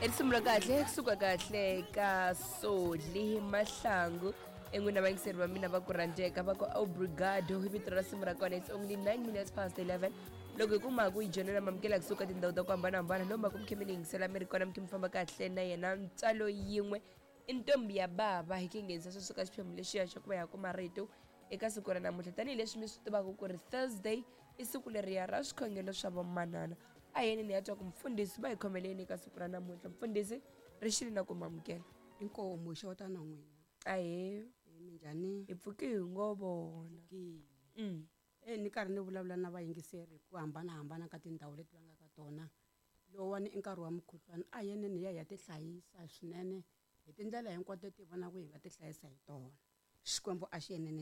I risimu ra kahle kusuka kahle ka Soli Mahlangu. En'wina vayingiseri va mina va ku rhandzeka va ku obrigado hi vito ra risimu ra kona. It's only 9 minutes past 11 loko hi kuma ku yi joyinela mamukela kusuka tindhawu ta ku hambanahambana lomu ku mi khe mi ni yingisela mi ri kona mi khe mi famba kahle na yena ntswalo yin'we i ntombi ya bava hi ke nghenisa sweswo ka xiphemu lexiya xa ku va ya kuma rito eka siku ra namuntlha tanihileswi mi swi tivaka ku ri Thursday i siku leriya ra swikhongelo swa vomanana. A hi yeni ni ya twa ku mfundhisi va hi khomeleni eka siku ra namuntlha. Mfundhisi ri xile na ku mamukela. Inkomu xota na n'wina. Ahee. Minjhani? Hi pfuke hi ngo vona. E ni karhi ni vulavula na vayingiseri hi ku hambanahambana ka tindhawu leti va nga ka tona. Lowuwani i nkarhi wa mukhuhlwani, a hi yeneni hi ya hi ya tihlayisa swinene hi tindlela hinkwato leti hi vonaka hi nga tihlayisa hi tona. Xikwembu a xi yenene.